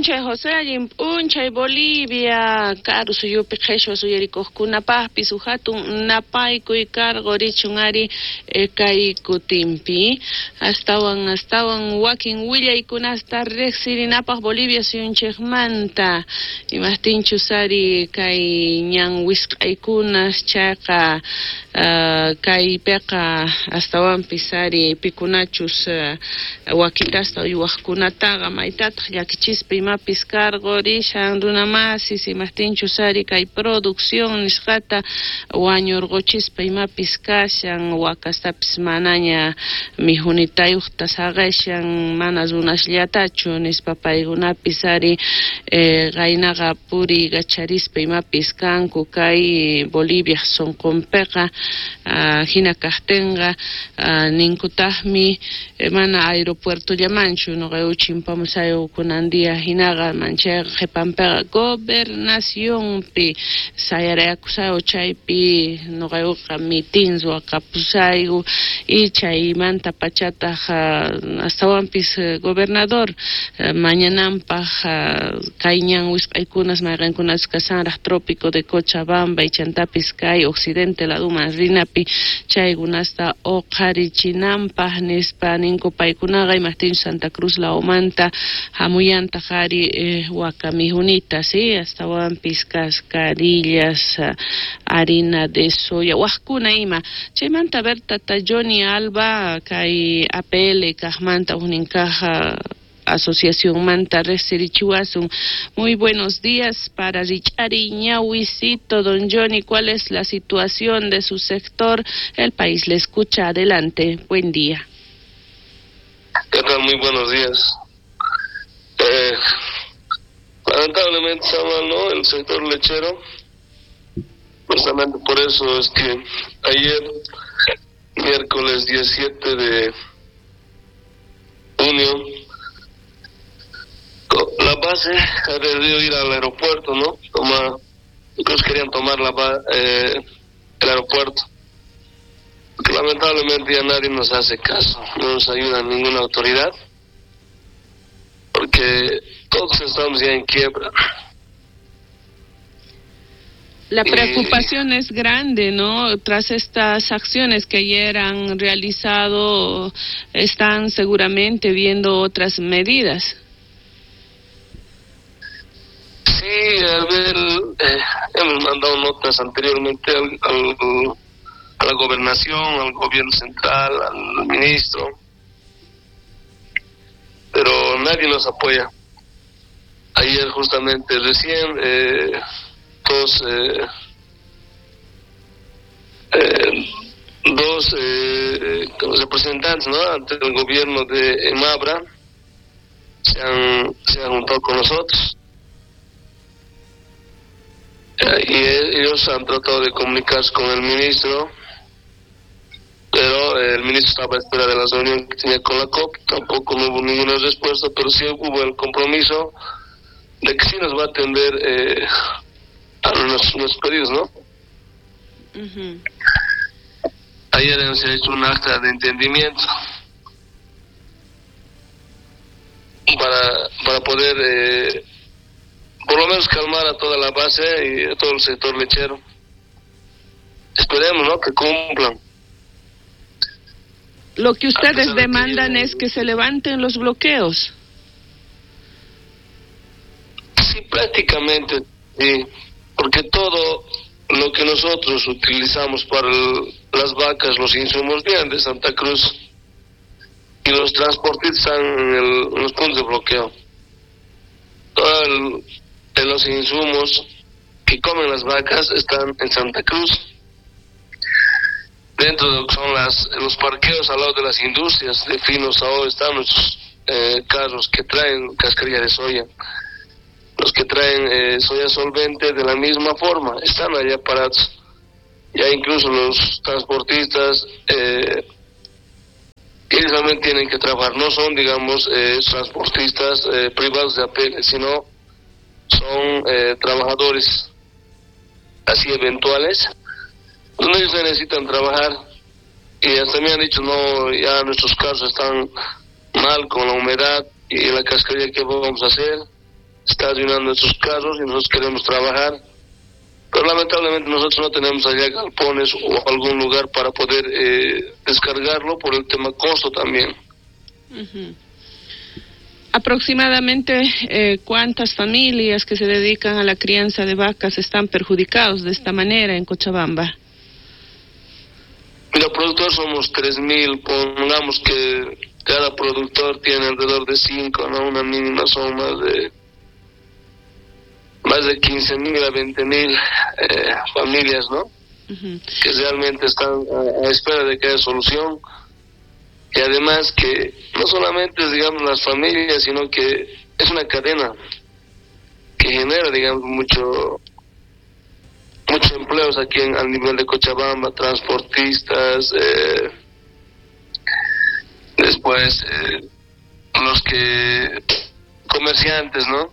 p'unchay, José, allin p'unchay, Bolivia, karu suyupi qheshwa suyarikuqkunapaqpis huk hatun napaykuy karqurichun ari kay kutinpi. Astawan astawan wakin willaykunasta riqsirinapaq Bolivia suyunchikmanta, imaqtinchus ari kay ñan wisq'aykunas chayqa kaypiqa astawanpis ari pikunachus wakitasta uywaqkunataqa maytataq llakichispa imapis karqurishan runamasis, imaqtinchus ari kay producción nisqata wañurquchispa imapis kashan, wakastapis manaña mijunitayuqta saqishan, mana runasllatachu nispa paykunapis ari qaynaqa puriykacharispa imapis kanku kay Bolivia sunqunpiqa. Hina kaqtinqa ninkutaqmi mana aeropuertollamanchu nuqayku chimpamusayu kunan día hinaqa manchayqa qhipanpiqa gobernacionpi sayarayakusayu chaypi nuqaykuqa mitin ruwakapusayku y chaymanta pachataq astawanpis gobernador mañananpaq kay ñan wisq'aykunas mayqinkunas kashanraq trópico de Cochabamba y chantapis kay occidente laduman rinapi chaykunasta uqharichinanpaq nispa ninku paykunaqa, imaqtinchus Santa Cruz lawmanta hamuyantaq ari waka mijunita, sí, astawanpis cascarillas, harina de soya, waqkuna ima. Chaymanta Berta Johnny Alba kay APL kaqmanta huknin kaq asociacionmanta riqsirichiwasun. Muy buenos días para Richari Ñawisito. Don Johnny, ¿cuál es la situación de su sector? El país le escucha. Adelante. Buen día. ¿Qué tal? Muy buenos días. Lamentablemente está mal, ¿no? El sector lechero. Justamente por eso es que ayer, miércoles 17 de junio, la base ha decidido ir al aeropuerto, ¿no? Incluso querían tomar el aeropuerto. Porque lamentablemente ya nadie nos hace caso, no nos ayuda ninguna autoridad, porque todos estamos ya en quiebra. La preocupación es grande, ¿no? Tras estas acciones que ayer han realizado, están seguramente viendo otras medidas. Sí, a ver, hemos mandado notas anteriormente a la gobernación, al gobierno central, al ministro, pero nadie nos apoya. Ayer justamente recién dos representantes, ¿no?, ante el gobierno de Emabra se han juntado con nosotros. Y ellos han tratado de comunicarse con el ministro, pero el ministro estaba a espera de la reunión que tenía con la COP, tampoco no hubo ninguna respuesta, pero sí hubo el compromiso de que sí nos va a atender a nuestros pedidos, ¿no? Uh-huh. Ayer se ha hecho un acta de entendimiento para poder por lo menos calmar a toda la base y a todo el sector lechero. Esperemos, ¿no?, que cumplan. Lo que ustedes demandan es que se levanten los bloqueos. Sí, prácticamente, sí, porque todo lo que nosotros utilizamos para las vacas, los insumos vienen de Santa Cruz y los transportistas están en los puntos de bloqueo. Todos los insumos que comen las vacas están en Santa Cruz, dentro de lo que son los parqueos al lado de las industrias de finos. Ahora están nuestros carros que traen cascarilla de soya, los que traen soya solvente de la misma forma, están allá parados. Ya incluso los transportistas ellos también tienen que trabajar, no son, digamos, transportistas privados de APL, sino son trabajadores así eventuales, donde ellos necesitan trabajar. Y hasta me han dicho, no, ya nuestros carros están mal con la humedad y la cascarilla, ¿qué vamos a hacer? Está arruinando nuestros carros y nosotros queremos trabajar. Pero lamentablemente nosotros no tenemos allá galpones o algún lugar para poder descargarlo por el tema costo también. Aproximadamente, ¿cuántas familias que se dedican a la crianza de vacas están perjudicados de esta manera en Cochabamba? Mira, productores somos 3.000, pongamos que cada productor tiene alrededor de 5, ¿no? Una mínima son más de 15.000 a 20.000 familias, ¿no? Uh-huh. Que realmente están a espera de que haya solución. Y además que no solamente, digamos, las familias, sino que es una cadena que genera, digamos, muchos empleos aquí al nivel de Cochabamba, transportistas, después los que comerciantes, ¿no?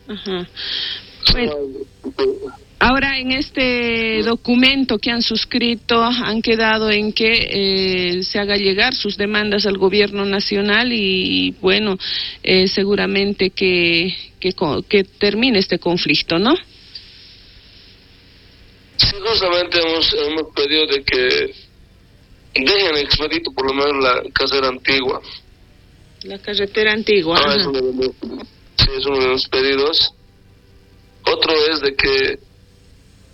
Uh-huh. Bueno, ahora en este documento que han suscrito han quedado en que se haga llegar sus demandas al gobierno nacional y bueno, seguramente que termine este conflicto, ¿no? Sí, justamente hemos pedido de que dejen expedito por lo menos la carretera antigua. La carretera antigua. Ah, es uno de los pedidos. Otro es de que,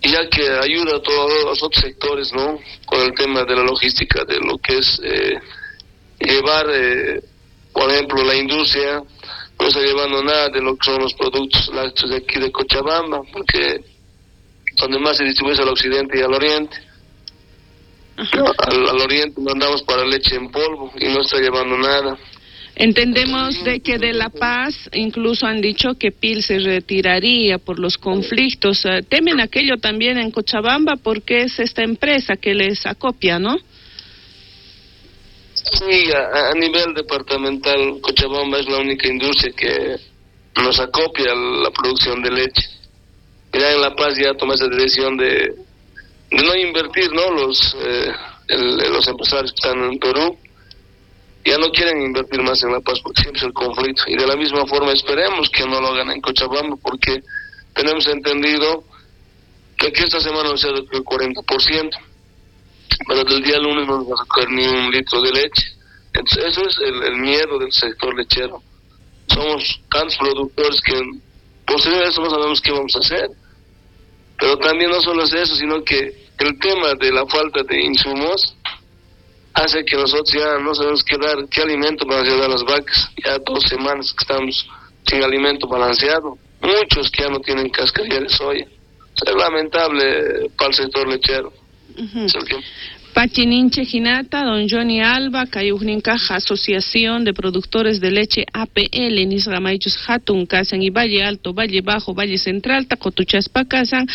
ya que ayuda a todos los otros sectores, ¿no? Con el tema de la logística, de lo que es llevar, por ejemplo, la industria, no está llevando nada de lo que son los productos lácteos de aquí de Cochabamba, porque donde más se distribuye es al occidente y al oriente. Al oriente mandamos para leche en polvo y no está llevando nada. Entendemos de que de La Paz incluso han dicho que PIL se retiraría por los conflictos. Temen aquello también en Cochabamba porque es esta empresa que les acopia, ¿no? Sí, a nivel departamental Cochabamba es la única industria que nos acopia la producción de leche. Ya en La Paz ya tomó esa decisión de no invertir, ¿no? Los empresarios que están en Perú ya no quieren invertir más en La Paz porque siempre es el conflicto. Y de la misma forma esperemos que no lo hagan en Cochabamba, porque tenemos entendido que aquí esta semana se ha recogido el 40%, pero del día lunes no nos va a recoger ni un litro de leche. Entonces eso es el miedo del sector lechero. Somos tantos productores que posterior a eso no sabemos qué vamos a hacer. Pero también no solo es eso, sino que el tema de la falta de insumos hace que nosotros ya no sabemos qué dar, qué alimento balanceado a las vacas. Ya 2 semanas que estamos sin alimento balanceado. Muchos que ya no tienen cascarilla de soya. Es lamentable para el sector lechero. Uh-huh. Pachininche Jinata, don Johnny Alba, Cayujnincaja, Asociación de Productores de Leche APL, Nisramaichus Hatun, Kasan y Valle Alto, Valle Bajo, Valle Central, Tacotuchaspa, Kasan,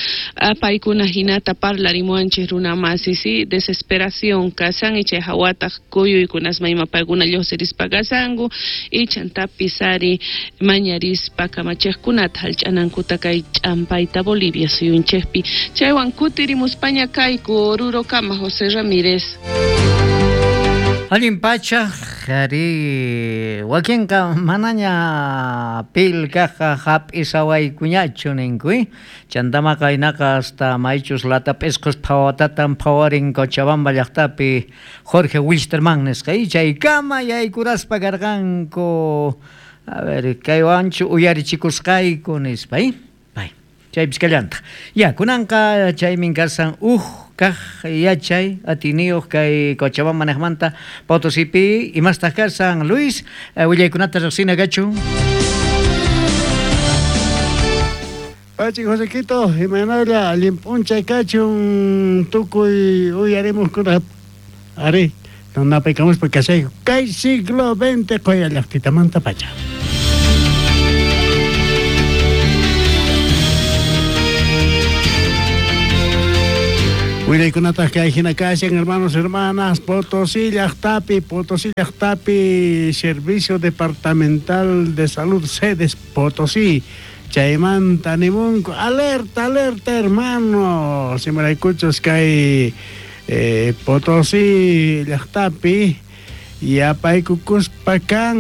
Paikuna Jinata, Parlarimuanche, Runamasi, desesperación, Kasan, y Chejahuata, Cuyo y Kunasmaima, Paguna, Yoserispa, Kasangu, y Chantapisari, Mañarispa, Kamachejkunat, Halchanankutakay, Champaita, Bolivia, Suyunchespi, Chaywan Kutirimuspaña, Kaiku, Oruro, Kama, José Ramírez. Allin pacha, jari, wakinqa manaña pilkaqa hap'isawaykuñachu ninku, chantamaqa aynaqa hasta maychus latap'isqus phawatatan phawarin Cochabamba llaqtapi Jorge Wilstermann nisqa, chaykama yaykuraspa karqanku, a ver, kaywanchu uyarichikusqayku nispa, chaypis kallantaq. Ya, kunanqa chaymin kasan kaj yachay atiniyuq kay Cochabamba nejmanta Potosipi imastaq kasan Luis, willaykunata riqsina kachu. Pachi Josequito, imaynalla allin p'unchay kachun tukuy uyarimuqkuna ari napaykamuspa kashayku kay siglo XX qoya llaqtitamanta pacha. Willaykunataq kay hina kashan, hermanos, hermanas, Potosí llaqtapi, Servicio Departamental de Salud, sedes Potosí, chaymanta nimunku, alerta, alerta, hermanos, imaraykuchus kay Potosí llaqtapi, Yapaykukuspa kan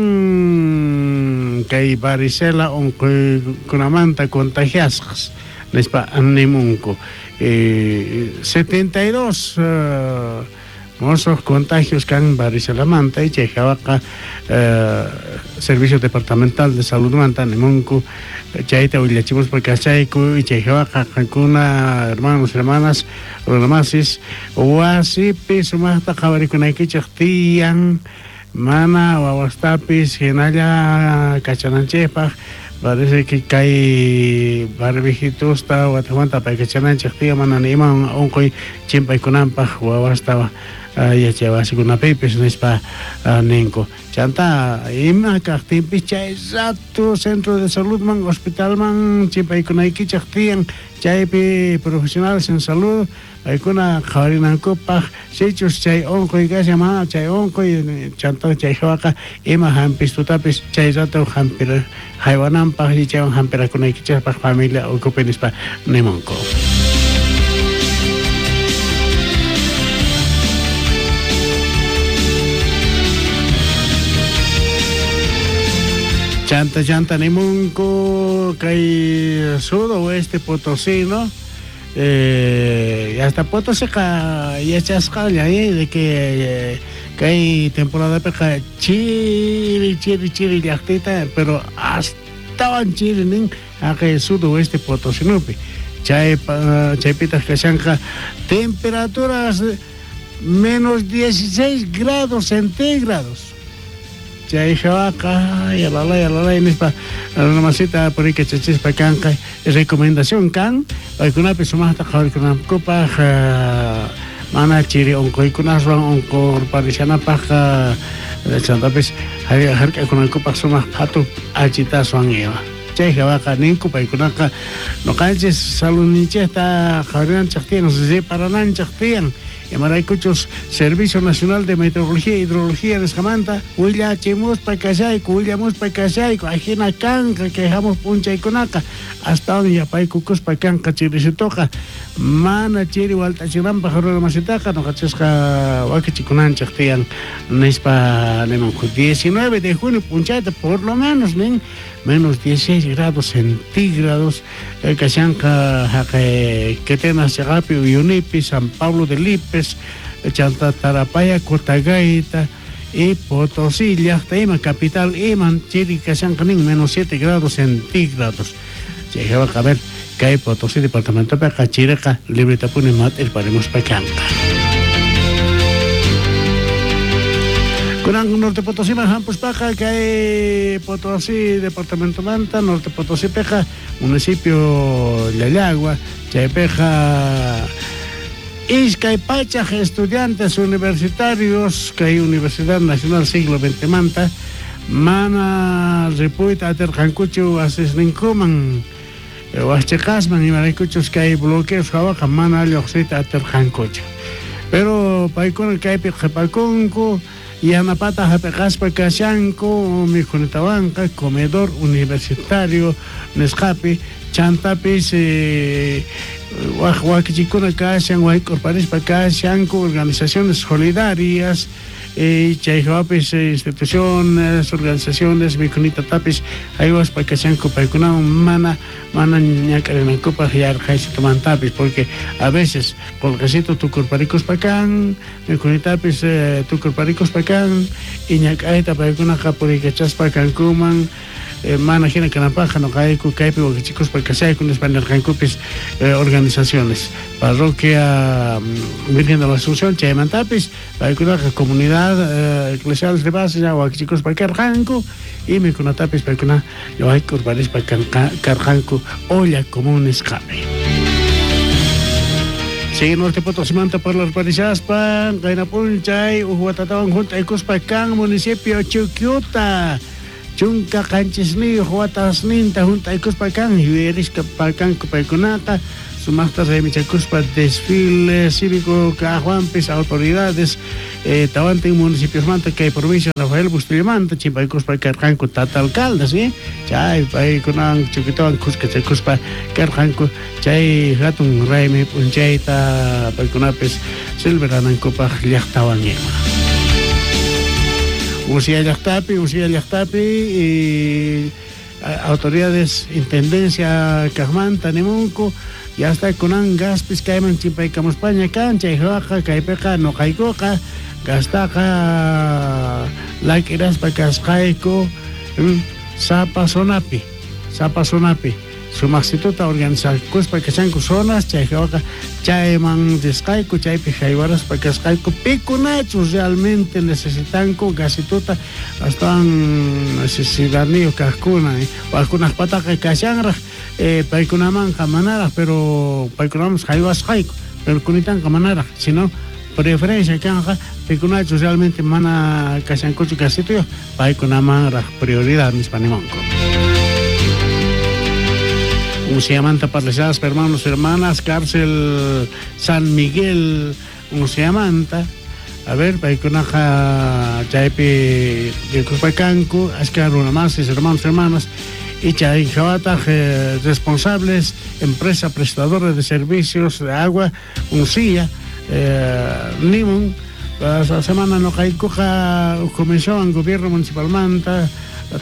kay varicela unquykunamanta contagiasqas nispa nimunku. 72 mosuq contagios kan varicelamanta y chay hawaqa Servicio Departamental de Saludmanta nimunku chayta willachimuspa kachayku y chay hawaqa qankuna hermanos, hermanas, runamasis wasipi sumaqta qhawarikunaykichik tiyan mana wawastapis hinalla kachananchikpaq parece que kay barbijitusta watamanta apaykachananchik tiyan mana ni ima unquy chimpaykunanpaq wawasta yachay wasikunapipis nispa ninku. Chanta ima kaqtinpis chay rato centro de saludman hospitalman chimpaykunaykichik tiyan chaypi profesionales en salud paykuna qhawarinankupaq sichus chay unquy kashan mana chay unquy chanta chay hawaqa ima hampistutapis chay rato hampir haywananpaq y chaywan hampirakunaykichikpaq familia ukhupi nispa nimunku. Chanta chanta nimunku kay sudoeste potosino hasta Potosíqa yachasqalla de que kay temporadapiqa chiri chiri chiri llaqtita pero astawan chiri nin haqay sudoeste potosinopi chay chaypitaq kashanqa temperaturas menos 16 grados centígrados. Chay hawaqa yalalay nispa runamasita purikachachispa kanqa recomendación kan paykunapi sumaqta qhawarikunankupaq mana chiri unquykunaswan unqurparishanapaq chantapis hark'akunankupaq sumaq phatu achitaswan ima. Chay hawaqa ninku paykunaqa nuqanchis saludninchikta qhawarinanchik tiyan reparananchik tiyan imaraykuchus Servicio Nacional de Meteorología e Hidrología nisqamanta willachimuspa kashayku willamuspa kashayku ajina kanqa kay hamuq p'unchaykunaqa astawan yapaykukuspa kanqa chirisituqa mana chiri walt'achinanpaq runamasitaqa nuqachisqa wakichikunanchik tiyan nispa nimunku. 19 de junio p'unchayta por lo menos nin menos 16 grados centígrados kashanqa haqay Quetenas chaqapi Uyunipi San Pablo de Lipes chanta Tarapaya Cotagaita y Potosí llaqta ima capital iman chiri kashanqa nin menos 7 grados centígrados. Chay hawaqa a ver kay Potosí departamentopiqa chiriqa libretapuni mat'irparimuspa kanqa. Kunan Norte Potosíman hampuspaqa kay Potosí departamentomanta Norte Potosípiqa municipio Llallagua chaypiqa iskay pachaq estudiantes universitarios kay Universidad Nacional Siglo XX manta mana ripuyta atirqankuchu wasisninkuman waqchiqasman imaraykuchus kay bloqueos hawaqa mana lluqsiyta atirqankuchu. Pero paykuna kaypi qhipakunku yanapata hap'iqaspa kashanku mikhunitawanqa comedor universitario nisqapi chantapis waq wakichikuna kashan wayk'urparispa kashanku organizaciones solidarias chay hawapis instituciones organizaciones mikhunitatapis haywaspa kashanku paykunawan mana mana ñak'arinankupaq yarqhaysitumantapis porque a veces qullqisito tukurparikuspa kan mikhunitapis tukurparikuspa kan y ñak'ayta paykunaqa puriykachaspa kankuman mana hina kananpaqqa nuqayku kaypi wakichikuspa kashayku nispa nirqankupis organizaciones parroquia Virgen de la Asunción chaymantapis paykunaqa comunidad eclesial de base ya wakichikuspa karqanku y mikhunatapis paykuna wayk'urparispa karqanku olla común nisqapi. Sigue Norte Potosímanta parlarparishaspa qayna p'unchay uj watatawan hunt'aykuspa kan municipio Chuquiuta chunka qanchisniyuq watasninta hunt'aykuspa kan yuyarisqa kanku paykunaqa sumaqta raymichakuspa desfile cívico kaqwanpis autoridades tawantin municipiosmanta kay provincia Rafael Bustillamanta chimpaykuspa karqanku tata alcaldes chay paykunawan Chuquitawan khuskachakuspa karqanku chay hatun raymi p'unchayta paykunapis celebranankupaq llaqtawan ima. Uncia llaqtapi y autoridades intendencia kaqmanta nimunku ya está kunan gaspis kayman chimpaykamuspaña kan chay hawaqa kaypiqa nuqaykuqa gastaqa lak'iraspa kasqayku sapa zonapi sumaqsituta organizakuspa kashanku zonas chay hawaqa chayman risqayku chaypi haywaraspa kasqayku pikunachus realmente necesitanku gasituta astawan necesidadniyuq kaqkuna wajkunaqpataqa kashanraq paykunamanqa manaraq pero paykunaman haywasqayku pero kunitanqa manaraq sino preferencia kanqa pikunachus realmente mana kashankuchu gasituyuq paykunamanraq prioridad nispa nimunku. Unciamanta parlashadas hermanos hermanas cárcel San Miguel Unciamanta a ver paykunaqa chaypi rikuspakanku ashka runamasis hermanos hermanas y chay hawataq responsables empresa prestadora de servicios de agua Uncia nimun esa semana nuqaykuqa comisión gobierno municipalmanta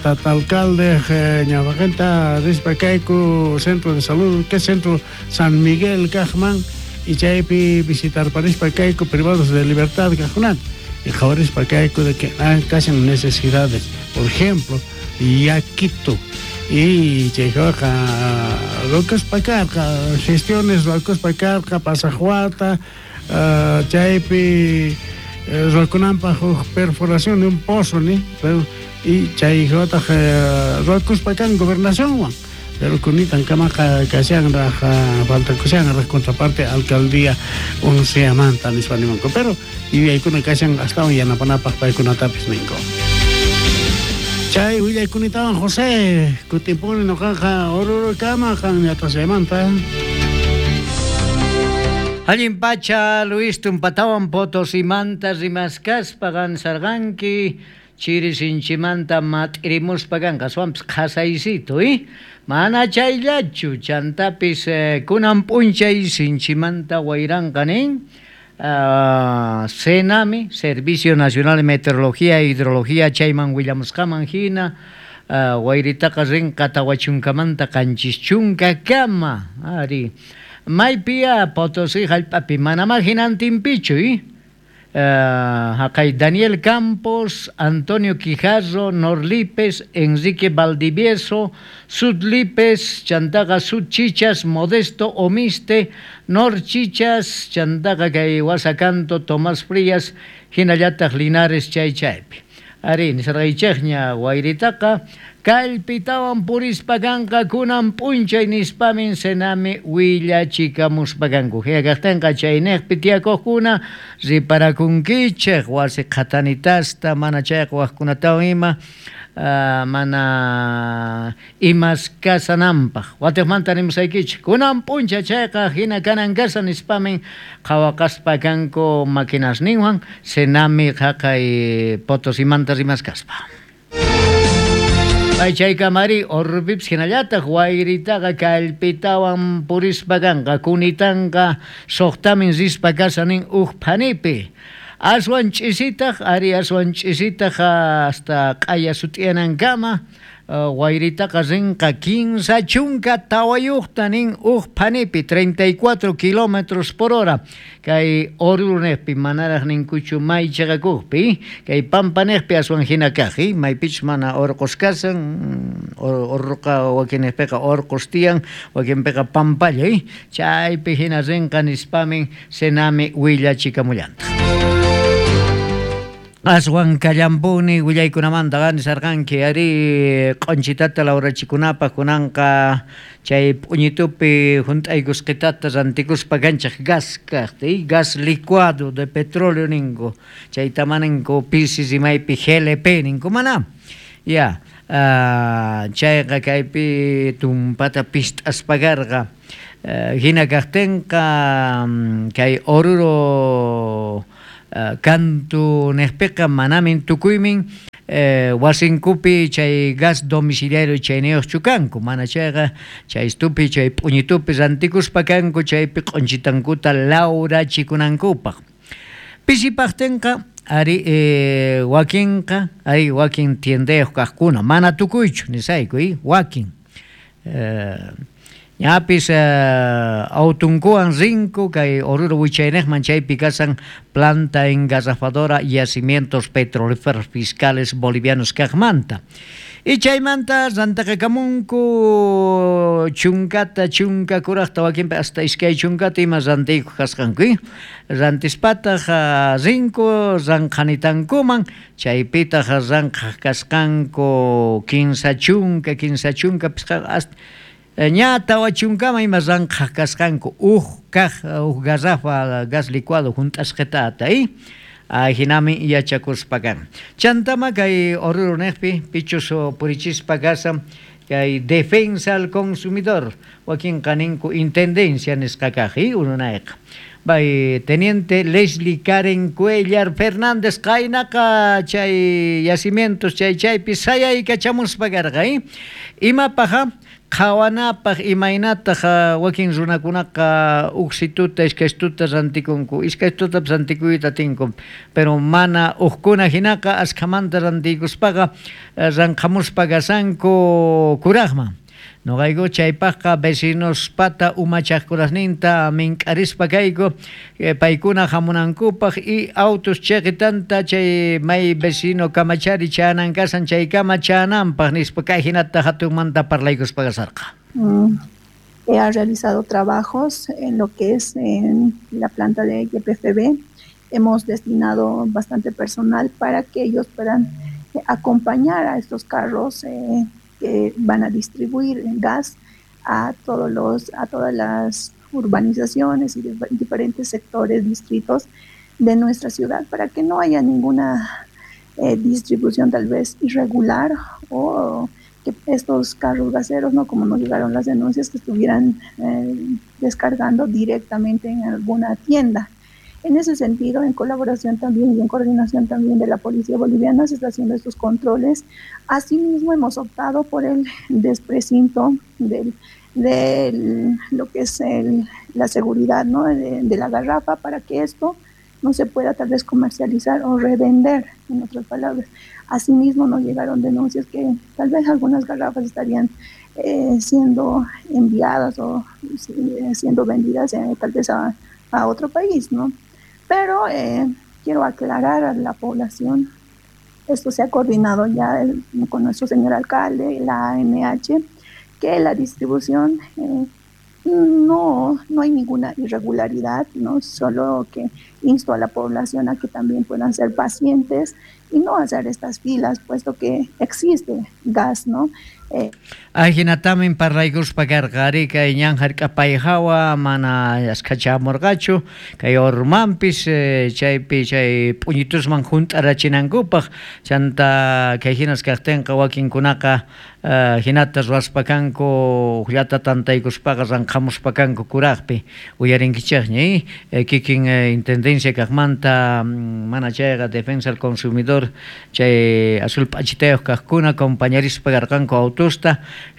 tata alcalde ñawaqenta rispa kayku centro de salud que centro San Miguel kaqman y chaypi visitarparispa kayku privados de libertad kaqkunata y qhawarispa kayku de que kashan necesidades por ejemplo yakitu y chay hawaqa rukuspa karqa gestiones rukuspa karqa pasaq wata chaypi ruwakunanpaq huk perforación de un pozo ni pero y chay hawataq ruwakuspa kan gobernacionwan pero kunitan kamaqa kashanraq faltakushanraq contraparte alcaldía Unciamanta nispa nimunku pero yuyaykuna kashan astawan yanapanapaq paykunatapis ninku. Chay willaykunatawan José kutimpuni nuqaqa Orurukama qan ñatashaymanta. Allin pacha Luis tumpatawan Potosimanta rimaskaspa qansarqanki chiri sinchimanta mat'irimuspa kanqa aswanpis qhasaysito mana chayllachu chantapis kunan p'unchay sinchimanta wayranqa nin SENAMI, Servicio Nacional de Meteorología e Hidrología chayman willamusqaman hina wayritaqa rinqa tawachunkamanta 70kama ari maypiya Potosí hallp'api manamá hinantinpichu haqay Daniel Campos, Antonio Quijarro, Norlipes, Enrique Valdivieso, Sudlipes, chantaqa Sudchichas, Modesto Omiste, Norchichas, chantaqa kay Wasacanto, Tomás Frías, hinallataq Linares chay chaypi. Ari, nisarqaychikña wayritaqa kallpitawan purispa kanqa kunan p'unchay nispamin SENAMI willachikamuspa kanku. Hina kaqtinqa chayniqpi tiyakuqkuna riparakunkichik wasi qhatanitasta mana chayqa waqkunatawan ima mana imas kasananpaq. Watiqmanta nimusaykichik kunan p'unchay chayqa hina kanan kasa nispamin qhawaqaspa kanku maquinasninwan SENAMI haqay Potosimanta rimaskaspa. Ay chaykamari Orupipis hinallataq wayritaqa kallpitawan purispa kanqa kunitanqa suqtamin rispa kasa nin huk phanipi. Aswan ch'isitaq ari aswan ch'isitaq hasta q'aya sut'iyanankama wayritaqa rinqa 34 nin huk phanipi 34 kilómetros por hora kay Oruruniqpi manaraq ninkuchu may chaqakuqpi kay Pampaniqpi aswan hina kaq maypichus mana urqus kasan urruqa wakinniqpiqa urqus tiyan wakinpiqa pampalla chaypi hina rinqa nispamin SENAMI willachikamullantaq. Aswan kallampuni willaykunamanta nisarqanki ari q'unchitata lawrachikunapaq kunanqa chay p'uñitupi hunt'aykusqitata rantikuspa kanchik gas kaqta gas licuado de petróleo ninku chayta maninku pisi rimaypi GLP ninku mana ya chayqa kaypi tumpata pist'aspa karqa hina kaqtinqa kay Oruro kantu niqpiqa manamin tukuymin wasinkupi chay gas domiciliario chayniyuqchu kanku mana chayqa chaystupi chay p'uñitupi rantikuspa kanku chaypi q'unchitankuta lawrachikunankupaq. Pisipaqtinqa Ari wakinqa, ari wakin tiendayuq kaqkuna, mana tukuychu nisayku, wakin. Ñapis autunkuwan rinku kay Oruro wichayniqman, chaypi kasan planta engarrafadora yacimientos petrolíferos fiscales bolivianos kaqmanta. Y chaymanta rantaqakamunku chunkata, chunka kuraqta, wakinpi hasta iskay chunkata ima rantiykuq kasqanku. Rantispataq rinku ranqhanitankuman, chaypitaq ranqhaq kasqanku 30 chunka, 30 chunka pisqa hasta ña 4 chunkama ima ranqhaq kasqanku uj kaq uj garrafa gas licuado junt'asqitata, Ajinami yachakuspa kan. Chantama kay Oruro niqpi pichus purichispa kasan kay defensa al consumidor wakinqa ninku intendencia nisqa kaq, ununayqa. Bay teniente Leslie Karen Cuellar Fernández qaynaqa chay yacimientos chay chaypi sayaykachamuspa karqa, Imapaqa qhawanapaq imaynataq wakin runakunaqa uksituta iskaystuta rantikunku, iskaystutapis rantikuyta atinku, pero mana uqkuna hinaqa askhamanta rantiykuspaqa ranqhamuspa kasanku kuraqman. Noqayku chaypaqqa vecinospata umachaqkurasninta mink'arispa kayku paykuna hamunankupaq y autos chiqitanta chay may vecino kamachari chanan kasan chaykama chananpaq nispa kay hinata hatunmanta parlaykuspa kasarqa. Ha realizado trabajos en lo que es en la planta de YPFB. Hemos destinado bastante personal para que ellos puedan acompañar a estos carros que van a distribuir gas a todas las urbanizaciones y diferentes sectores, distritos de nuestra ciudad, para que no haya ninguna distribución tal vez irregular o que estos carros gaseros, no como nos llegaron las denuncias, que estuvieran descargando directamente en alguna tienda. En ese sentido, en colaboración también y en coordinación también de la Policía Boliviana, se está haciendo estos controles. Asimismo, hemos optado por el desprecinto de lo que es la seguridad, ¿no?, de la garrafa, para que esto no se pueda tal vez comercializar o revender, en otras palabras. Asimismo, nos llegaron denuncias que tal vez algunas garrafas estarían siendo enviadas o siendo vendidas tal vez a otro país, ¿no? Pero quiero aclarar a la población, esto se ha coordinado ya con nuestro señor alcalde, la ANH, que la distribución no hay ninguna irregularidad, ¿no? Solo que insto a la población a que también puedan ser pacientes y no hacer estas filas, puesto que existe gas, ¿no? Ajinatamin parlaykuspa karqa ari kay ñan hark'apay hawa mana askachamurqachu kay ormanpis chaypi chay p'uñitusman hunt'arachinankupaq chanta kay hinas kaqtinqa wakinkunaqa hinata ruwaspa kanku llata tantaykuspaqa ranqhamuspa kanku kuraqpi uyarinkichaqña kikin intendencia kaqmanta mana chayqa defensa al consumidor chay azul p'achitayuq kaqkuna compañerispa karqanku autusta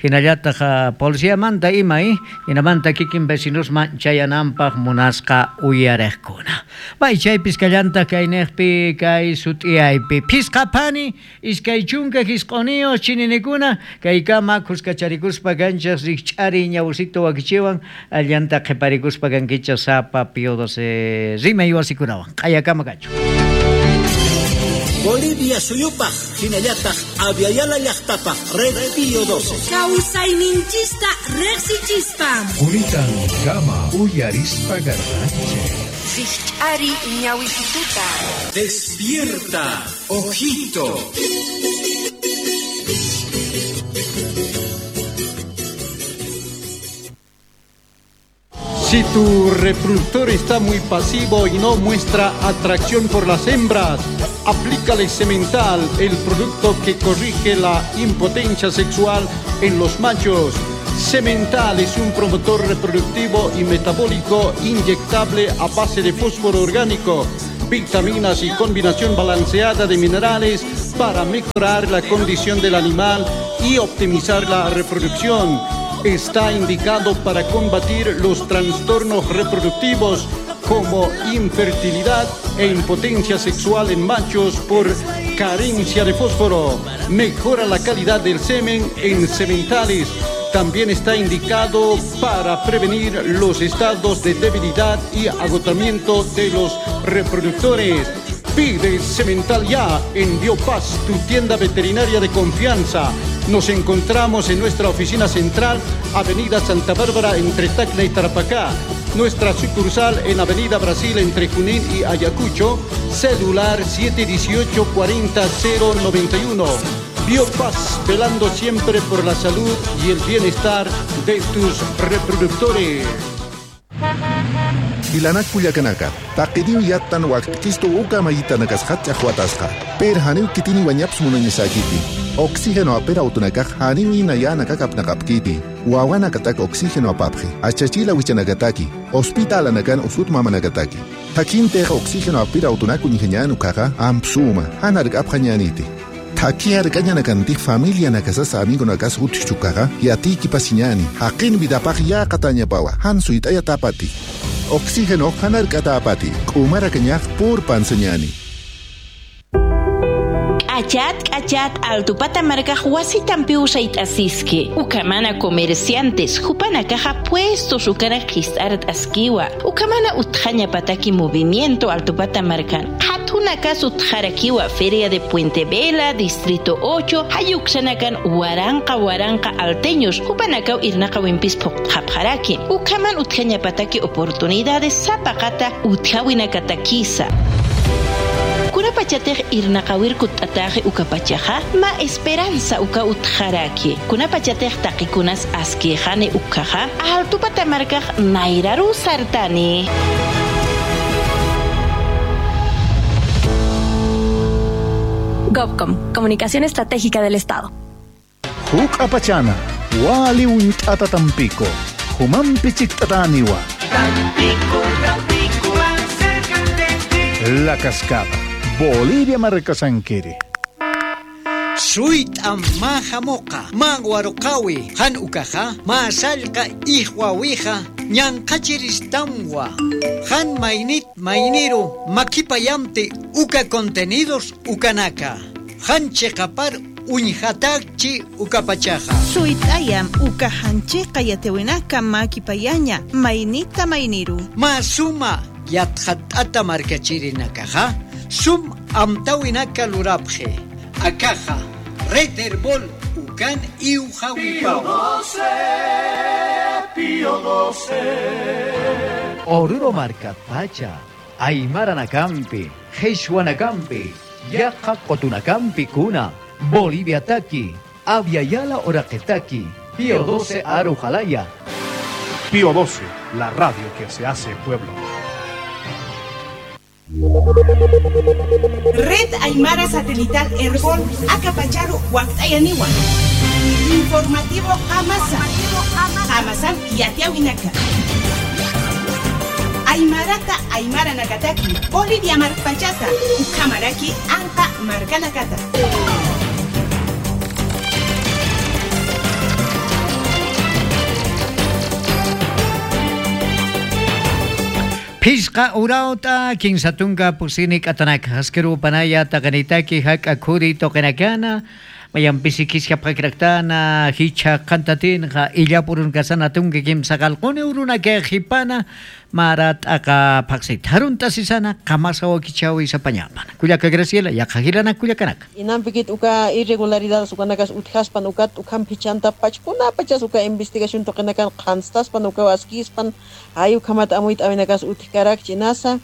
hinallataq policiamanta ima hinamanta kikin vecinosman chayananpaq munasqa uyariqkuna. Bay chaypis kallantaq kayniqpi kay sut'iyaypi phisqaphani 29 chininikuna kaykama khuskacharikuspa kanchaq rikch'ari ñawsito wakichiwan allanta qhiparikuspa kankichaq sapa Pío 12 rimay wasikunawan q'ayakama kachu. Bolivia suyupaj, hinallataq Aviala llaqtapaj, Red Pío 12. Kawsayninchista riqsichispa. Quritan kama uyarispa garranche. Rikch'ari ñawisituta. Despierta, ojito. Si tu reproductor está muy pasivo y no muestra atracción por las hembras, aplícale Semental, el producto que corrige la impotencia sexual en los machos. Semental es un promotor reproductivo y metabólico inyectable a base de fósforo orgánico, vitaminas y combinación balanceada de minerales para mejorar la condición del animal y optimizar la reproducción. Está indicado para combatir los trastornos reproductivos como infertilidad e impotencia sexual en machos por carencia de fósforo. Mejora la calidad del semen en sementales. También está indicado para prevenir los estados de debilidad y agotamiento de los reproductores. Pide Semental ya en Biopaz, tu tienda veterinaria de confianza. Nos encontramos en nuestra oficina central, Avenida Santa Bárbara, entre Tacna y Tarapacá. Nuestra sucursal en Avenida Brasil, entre Junín y Ayacucho. Celular 718 40091. Biopaz, velando siempre por la salud y el bienestar de tus reproductores. Ilanak kullakanaka, taqidiw yattan waqtikistu uka mayitanakasqa ch'aqwatasqa. Per haniw kitini wañaps munañisakiti. Oxígeno apera autunakaj haniw inayanakakapnaqapkiti. Wawanakatak oxígeno apapji. Achachila wichanakataki. Hospital anakan usut mamanakataki. Takinteja oxígeno apira autunaku ñijañanukaqa ampsuma. Hanark apjañaniti. Takiar kañanakantik familia nakasasa amigo nakas utchukaqa yatiki pasiñani. Haqin vidapaj yaqatañapawa. Hansuitaya tapati. Oxígeno hanarkatapati. K'umarakañaj pur pansañani. K'achat, k'achat, altupata markaj wasitampi usayt'asiski. Ukamana comerciantes, jupana caja puestos ukana qhis'arat askiwa. Ukamana utqaña pataki movimiento altupata markan. Qhatuna kas utqarakiwa Feria de Puente Vela, Distrito 8, hayuksanakan waranqa waranqa alteños, jupanakaw irnaqa wimpis phuqhapjaraki. Ukaman utqaña pataki oportunidades sapaqata utqawinakatakisa. Kunapachatej irnaqawirku t'ataje ukapachaja ma esperanza uka utjaraki. Kunapachatej taqikunas askejane ukaja altupata markaj nairaru sartani. GovCom, Comunicación Estratégica del Estado. Huk apachana, wali unt'ata tampico, humampi chiktataniwa. Tampico, Tampico, acércate. La Cascada. Bolivia markasankiri. Suit mahamoqa, manwaruqawi, han ukaja, masallqa ihwawija, ñanqachiristamwa. Han mainit mainiru, makipayamti uka contenidos ukanaka. Han cheqapar uñjatakchi ukapachaja. Suitayam uka hanchiqa yatewinaka makipayaña, mainita mainiru. Masuma yatjat'ata markachirinakaja. Sum amtawinaka lurapje. Akaja, Red Herbol, Ucan y Ujahuipao. Pío XII, Pío XII. Oruro Marca Pacha, Aymara Nakampi, Jesuanacampi, Yaja Cotunacampi Cuna, Bolivia Taki, Aviala Oraqetaki, Pío XII Arujalaya. Pío XII, la radio que se hace pueblo. Red Aymara Satelital Herbol, Acapacharu, Huactayaniwa. Informativo Amasa. Amasan y Atiawinaka. Aymarata Aymara Nakataki, Bolivia Marpachata, Ukamaraki, Anka Markanakata. Pisqa urauta kinsatunka pusini k'atanaka haskeru panaya taqanitaki hak'a khuri toqinakana mayanpisi kisqa paqraktana hicha qantatinqa illapurun kasana tunki kimsaqalquni urunaka qhipana marat'aqa phaqsita harunta sisana qamasa wakichawi sapañapana kullaka Graciela yaqhajilana kullakanaka Inampikit uka irregularidades ukanakas utjaspan ukat ukam pichanta pachkuna pachas uka investigación toqinakan qhanstaspan uka waskispan hay ukamat amuit awinakas utjkarak chinasa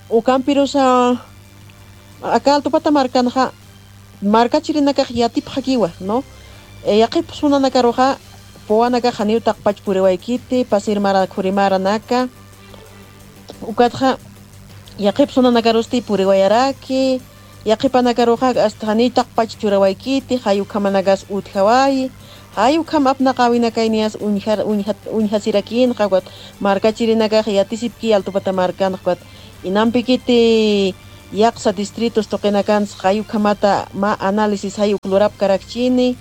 ukampirusa acá altupata markanja marka chirinakaj yatip jakiwa no yaqip sunanakaruja powanaka janiutaq pachpuriwaykiti pasirmara khurimaranaka ukatja yaqip sunanakarusti puriwayaraki yaqipanakaruja hasta janitaq pachchurawaykiti hayukamanakas utjaway hayukam apnaqawinakaynias unjasirakinqa wat marka chirinakaj yatisipki altupata markanaj wat inampikiti yaqsa distritos toqinakans hayukamata ma análisis hayuk lurap karakchini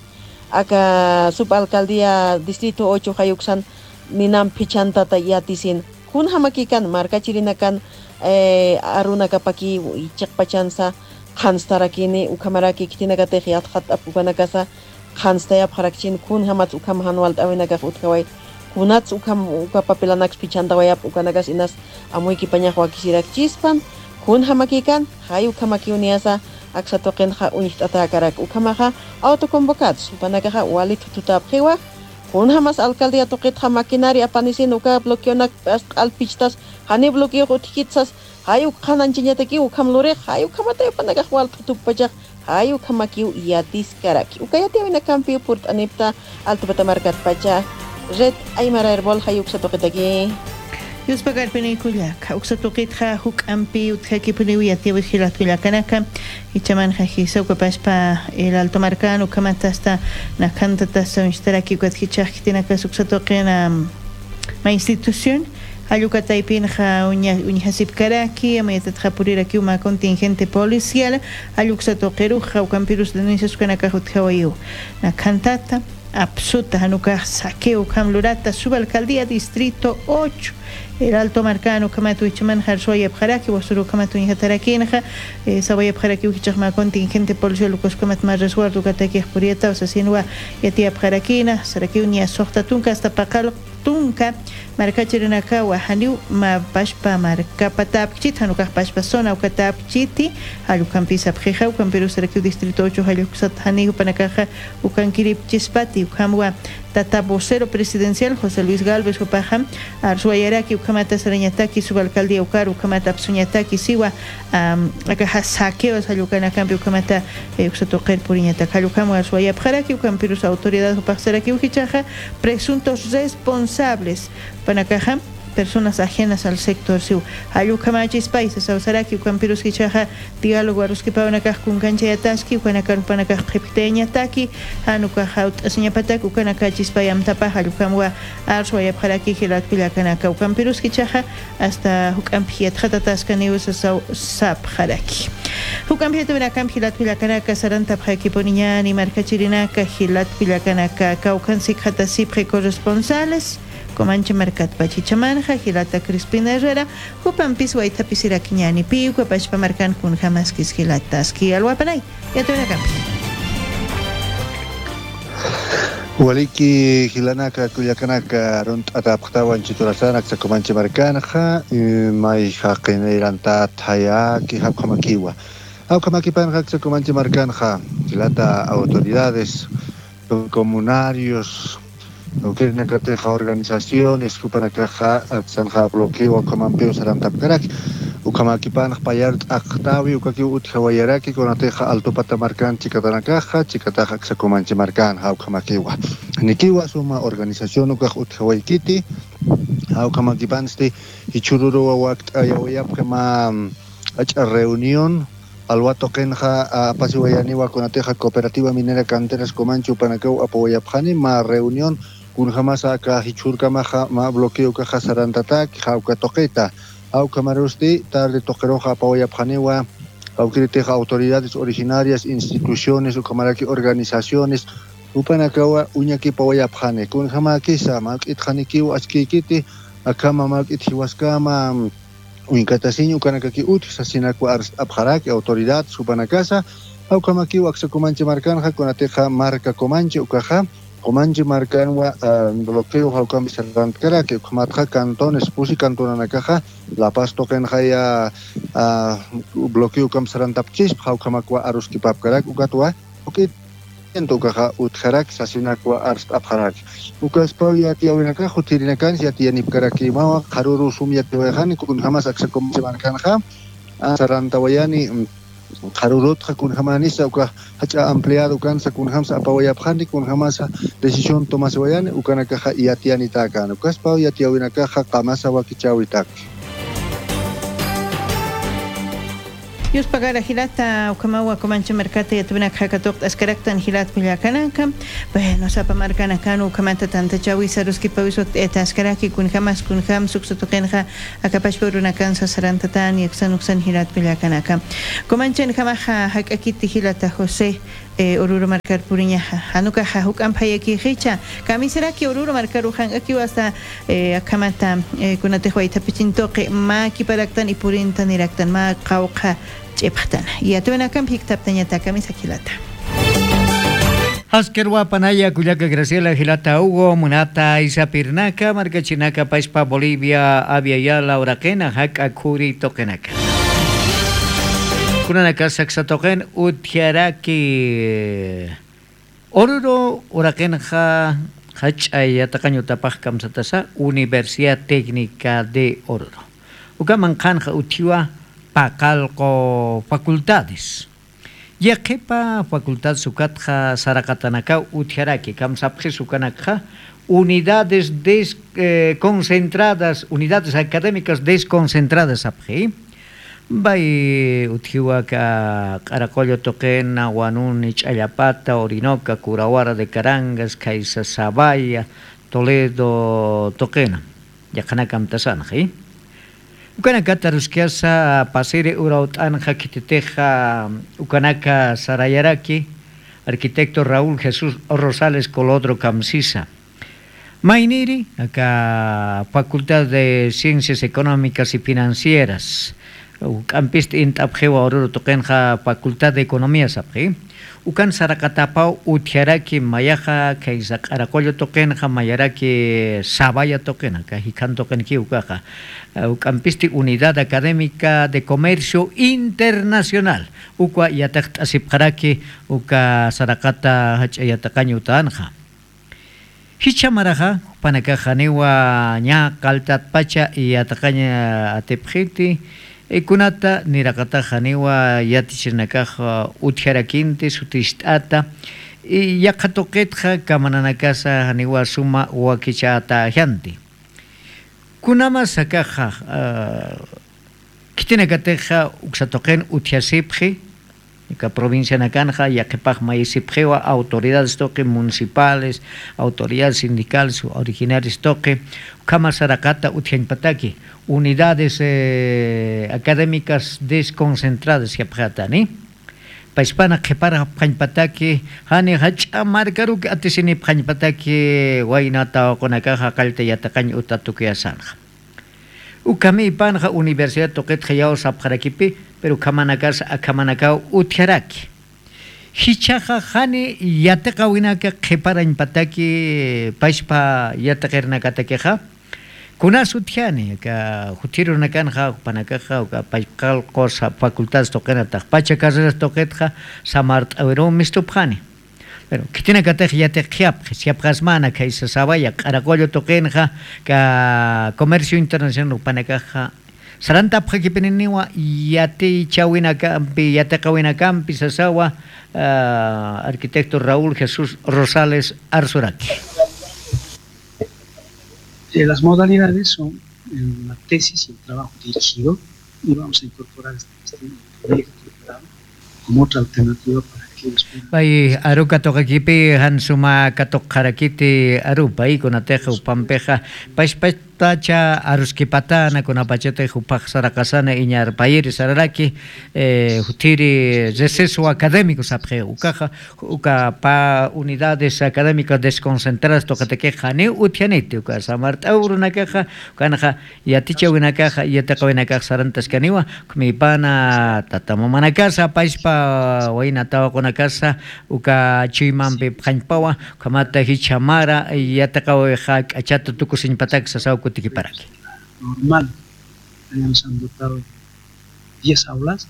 aka subalcaldía distrito 8 hayuksan ninam pichantata yatisin Kun hamakikan markachirinakan arunakapaki ichiqpachansa qhanstarakini ukhamaraki kitinakatej yatqat apukanakasa qhanstayap harakchin kun hamat ukham hanwal t'awinakaj utkaway kunats ukham ukapapilanaks pichantawayap ukanakas inas amuyki pañaj wakisirakchispan kun hamakikan hay ukhamakiuniasa aksatoqinja uñiht'atakarak ukhamaja autoconvocados upanakaja wali tututapqiwa kun hamas alcaldía toqitja maquinaria apanisin uka bloqueonak alpichtas hani bloqueo utkitsas hay ukhananchiñataki ukhamlurej hay ukhamata upanakaj wal tutupachaj hay ukhamakiu yatiskaraki ukayatiawinakampi purt'anipta altopatamarkat pacha red aymara herbol hay uksatoqitaki Yuspa karpinikullaka uksatuqitja huk'anpi utjakipuni yatiwi jilatkullakanaka ichamanja jisawkapashpa el alto marcano ukamata nakanta tasta uñishtaraki ukatjichajkitinaka uksatuqina ma institución Ayucataypinja uñajasipkaraki amayatatja puriraki uma contingente policial ayuksatoqiruja ukampirus denuncias ukanaka utjawayu nakantata absuta hanuka saqueo kamlurata subalcaldía distrito 8 el alto marcano kamatu ichaman harsoya pjaraki wasuru kamatu injatarakinja sawaya pjaraki ujichajma contingente policial lucos kamat más resguardo kataki purieta o sea sinwa yatia pjarakina saraki uña sohtatunka hasta pakal tunka markachirinakawa haniu ma pashpa markapatapchit hanukaj pashpa zona ukatapchiti hayukampisa pjija ukampiru sarakiu distrito 8 hayuksat haniu panakaja ukankiripchispati ukamwa tata vocero presidencial José Luis Galvez upaja arzuayaraki ukamata sarañataki subalcaldía ukar ukamata apsuñataki siwa akaja saqueos hayukanakampi ukamata uksatoqer puriñataka hayukamwa arzuayapjaraki ukampirus autoridad upajsaraki ujichaja presuntos responsables panakaja personas ajenas al sector siu hayukamachis países awsaraki ukampirus kichaja diálogo aruskipawanakaj kunkanchayataski ukanakarupanakaj qhipteñataki hanukaja ut'asiñapataki ukanakachispayamtapaj hayukamwa arsuayapjaraki jilatpillakanaka ukampirus kichaja hasta huk'anpi yatjatataskaniu sapjaraki hukampi yatawinakampi jilatpillakanaka sarantapjakiponiñani markachirinaka jilatpillakanaka kawkansik jatasipje corresponsales Comanche Marcat Pachichamanja, Gilata Crispina Herrera, Jupampis Huaytapisiraquiñani Piuca, Pachpa Marcan Kunjamaskis Gilataski, Alhuapanay, ya te acá. Waliki Gilanaka, Cuyacanaka, Runt Ataptawan, Chiturasanak, Comanche Marcanja, May Jaqueneranta, Tayaki, Japjamakiwa. Aucamaquipan, Comanche Marcanja, Gilata, autoridades, comunarios, Ukirinakateja organizaciones, Kupanakaja, Sanja bloqueo, Kamampeo, Sarantapkarak, Ukamakipan, Payart, Aktawi, Ukaki Utjawayaraki, Konateja, Alto Patamarcan, Chicatanakaja, Chicataja, Xacomanche Marcan, Haukamakiwa. Nikiwa suma organización Ukaj Utjawaykiti, Haukamakipansti, Ichururu Wakt Ayawayapkama, reunión. Alwato Kenja, Apasiwayaniwa, Conateja, Cooperativa Minera Canteras Comanche, Upanacau, Apoyapjani, ma reunión, Kunjamasa, Hichurkamaja, ma bloqueo Caja Sarantatak, Jauca Toqueta, Auca Marusti, tarde Toqueroja, Apoyapjaniwa, Auquiriteja, autoridades originarias, instituciones, Ucamaraki, organizaciones, Upanacawa, Uñaki, Pawayapjani, Kunjamakisa, Malkitjanikiu, Achkikiti, Akama, Malkitjiwaskama, Uinkatasiño, ukanakaki ut, sasinakwa apjaraki, autoridad, supanakasa, aukamaki, uaksacomanche marcanja, conateja marca comanche, ukaja, comanche marcanwa, bloqueo, jaukambi sarantkaraki, ukamatja cantones, pusi cantonanakaja, La Paz tokenjaya, bloqueo kamsarantapchis, jaukamakwa aruskipapkarak, ukatwa, ukit. Ukaja utjarak sasinakwa arst apjarak. Ukaspaw yatiawinaka jutirinakan yatianipkaraki mawa qaruru sum yatiwajani kunjamas aksacomanche sarantawayani qarurutja kunjamanisa uka hacha empleado kansa kunjamsa apawayapjani kunjamasa decisión tomaswayani ukanakaja yatianitakan ukaspaw yatiawinakaja qamasa wakichawitak. Dios pagara gilata ukamawa Comanche Mercate y atubina jakatok ascaraktan gilat pillakanaka. Bueno, sapa marcana kanu ukamata tanta chawi saruski pawiso etaskaraki kunjamas kunjam suksatokenja akapashpuruna kansa sarantatan y aksan uksan gilat pillakanaka. Comanche en jamaja hakakiti gilata José Oruro markar puriñaja hanukaja huk'anphayaki qicha kamisaraki Oruro markar ujan'aki wasa akamata kunatej waytapichintoqi maki paraktan y purinta niraktan ma qawqa ch'ipaqtana yatunakan phiktaptañata kamisakilata. Haskerwa Panaya, Cuyaca, Graciela, Gilata, Hugo, Munata, Isapirnaca, Marcachinaca, Paispa, Bolivia, Avia, Uraquena, Jaca, Curi, Toquenaca. Kunanaka, Saxatoquen, Utiaraki, Oruro, Uraquenja, Hachaya, Takaño, Tapaj, Kamsatasa, Universidad Técnica de Oruro. Ucaman Kanja, Utiwa, Pacalco, Facultades. Yaqipa facultad sukatja saraqatanaka utiaraki kamsapji sukanakja unidades desconcentradas, unidades académicas desconcentradas apji. Bay utiwaka Caracollo Toquena, Huanuni, Challapata, Orinoca, Curahuara de Carangas, Caiza Sabaya, Toledo Toquena. Yakanaka amtasanji. Ukanaka tarusquiasa pasire urautanja quititeja Ukanaka Sarayaraki, arquitecto Raúl Jesús Rosales Colodro Camsisa. Mainiri, acá Facultad de Ciencias Económicas y Financieras. Campist intapjewa Oruro Toquenja Facultad de Economía sapji. Ukan Sarakatapau utiaraki mayaja kaisa Caracollo toquenja mayaraki Sabaya toquena kajikan toqenki ukaja. Ukampisti Unidad Académica de Comercio Internacional. Ukwa yataqt asipqaraki uka Sarakata hach'ayataqañu utanja. Hichamaraja panakaja niwa ña qaltat pacha yataqaña atipjiti. Kunata niraqataja niwa yatichinakaja utjarakinti sutist'ata y yaqatoqitja kamananakasa niwa suma wakichata janti. Kunama sakaja kitinakateja uksatoqen utjasipji ka provincia nakanja yaqipaj mayisipjiwa autoridades toqi municipales, autoridades sindicales originarias toqi kama sarakata utjanpataki unidades académicas desconcentradas yapjatani paispana qhipara phanpataki hani hach'a markaruki atisini phanpataki waynata qunakaja qalta yataqañ utatukiyasanja ukami panja universidad toqitja yaw sapjarakipi pero kamanakasa akamanakau utiaraki hichaja hani yataqa winaka qhiparañpataki paispa yataqirnakatakiqa kunas utiani ka jutirunakanja panakaja ka payqalqos facultades toqenataq pacha carreras toqetja samart'awirum mistupjani pero kitinakatej yatiqyapj siapqasmana kaysa sabaya Caracollo toqenja ka comercio internacional panakaja saranta pjaqipininiwa yati chawinakampi yataqawinakampi sasawa arquitecto Raúl Jesús Rosales Arzuraki. Las modalidades son la tesis y el trabajo dirigido, y vamos a incorporar este proyecto como otra alternativa para que ellos puedan. Bay aruka toqakipi hansuma katoqarakiti arupa y kunateja upampeja pashpatacha aruskipatana kunapachate jupaj sarakasana iñarpayiri sararaki jutiri receso académico sapje ukaja uka pa unidades académicas desconcentradas toqatequeja ni utianiti uka samart'aurunakaja ukanaja yatichawinakaja yataqawinakaja sarantaskaniwa kmipana tatamamanakasa pashpa waynatawakunakasa uka chuymanpi pqañpawa kamata hichamara yataqawija k'achata tukusiñpatak sasaw kutikiparaki. Normal, nos han dotado 10 aulas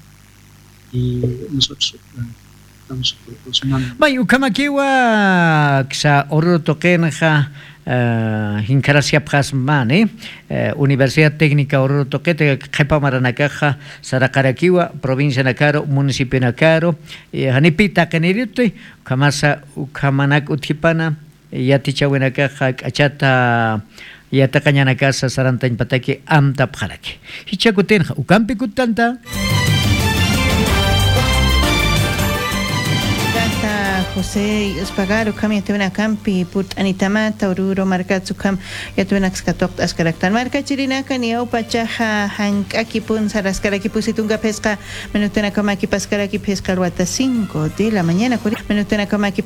y nosotros estamos proporcionando. Bay ukamakiwa ksa Oruro toqenja hinkarasiapqasmani Universidad Técnica Oruro Toquete qhipamaranakaja Saraqarakiwa provincia Nakaro municipio Nakaro hanipita qaniritu kamasa ukamanak utjipana yatichawinakaja k'achata yataqañanakasa sarantañpataki amtapqaraki hichakutinja ukampi kutanta. José Espagaro kam yatuna kampi purt'anitamata Oruro markatsu kam yatuna kskatoq askaraktan marka chirinaka niawpachaja hank'aki punsa raskaraki pusitunka pesqa menutuna kamaki paskaraki pesqa ruata 5 de la mañana menutuna kamaki.